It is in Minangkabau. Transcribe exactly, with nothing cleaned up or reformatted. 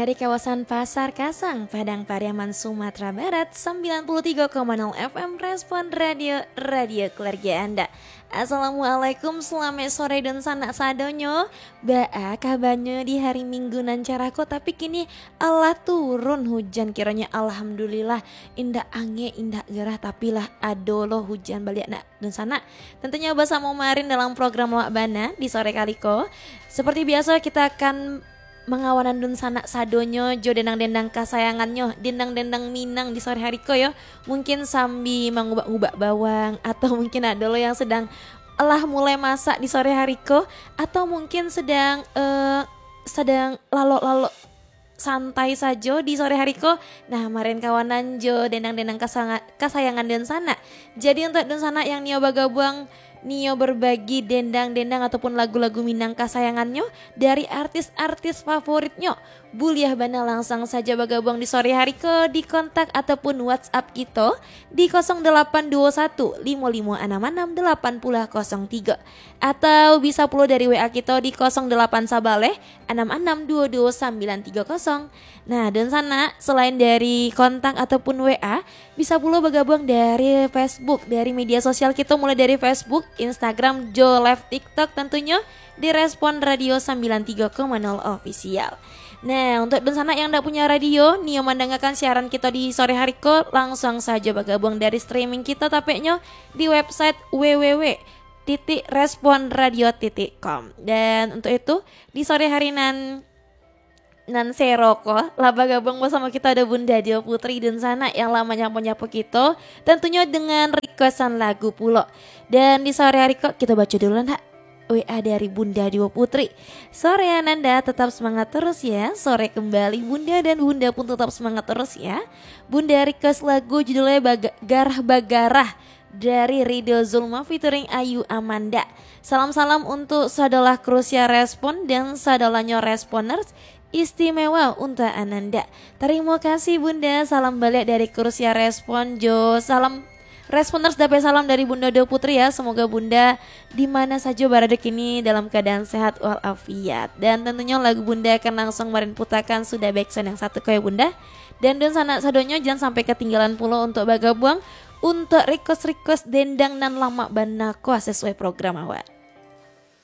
Dari kawasan Pasar Kasang, Padang Pariaman, Sumatera Barat, sembilan puluh tiga koma nol F M Respon Radio, radio keluarga Anda. Assalamualaikum, selamat sore dunsanak sadonyo. Baa kabanyo di hari Minggu nan carah ko? Tapi kini alah turun hujan kironyo, alhamdulillah. Indak angek, indak gerah, tapi lah ado lo hujan baliak nak dunsanak. Tentunyo basamo Marin dalam program Awak Bana di sore kali ko. Seperti biaso, kita akan mangawanan dunsanak sadonyo jo dendang-dendang kasayangannyo, dendang-dendang Minang di sore hari ko yo. Mungkin sambi mangubak-ubak bawang, atau mungkin ado lo yang sedang lah mulai masak di sore hari ko, atau mungkin sedang, eh, sedang lalok-lalok santai sajo di sore hari ko. Nah, Marin kawanan jo dendang-dendang kasanga-, kasayangan dunsanak. Jadi, untuk dunsanak yang nio bagabuang, nio berbagi dendang-dendang ataupun lagu-lagu Minang kasayangannyo dari artis-artis favoritnyo, buliah bana langsung sajo bagabuang di sore hari ko di kontak ataupun WhatsApp kito di kosong delapan duo satu limo limo anam anam delapan puluh kosong tigo, atau bisa pulo dari W A kito di kosong delapan sabaleh anam anam duo duo sambilan tigo kosong. Nah, dunsanak, selain dari kontak ataupun W A, bisa pulo bagabuang dari Facebook, dari media sosial kito, mulai dari Facebook, Instagram, jo live TikTok tentunyo, di Respon Radio sembilan tiga koma nol Official. Nah, untuk dunsanak yang ndak punya radio, nio mandangakan siaran kito di sore hari ko, langsung sajo bagabuang dari streaming kito, tapeknyo di website W W W titik respon radio titik com. Dan untuk itu, di sore hari nan, nan sero ko, lah bagabuang basamo kito ado Bunda Dio Putri dunsanak yang lah manyapo-nyapo kito, tentunyo dengan requestan lagu pulo. Dan di sore hari ko, kito baco dulu ndak W A dari Bunda Dio Putri. "Sore Ananda, tetap semangat terus ya. Sore kembali Bunda, dan Bunda pun tetap semangat terus ya." Bunda request lagu judulnya Baga-, Garah Bagarah dari Ridho Zulma featuring Ayu Amanda. Salam-salam untuk sadolah Krusia Respon dan sadolanyo Responers, istimewa untuk Ananda. Tarimo kasih Bunda, salam baliak dari Krusia Respon jo salam Responers, dapek salam dari Bunda Dio Putri ya. Semoga Bunda di mana sajo barado kini dalam keadaan sehat walafiat. Dan tentunyo lagu Bunda akan langsung Marin putakan sudah backsound yang satu ko ya Bunda. Dan dunsanak sadonyo jan sampai ketinggalan pulo untuk bagabuang untuk request-request dendang nan lamak bana ko sesuai program awak.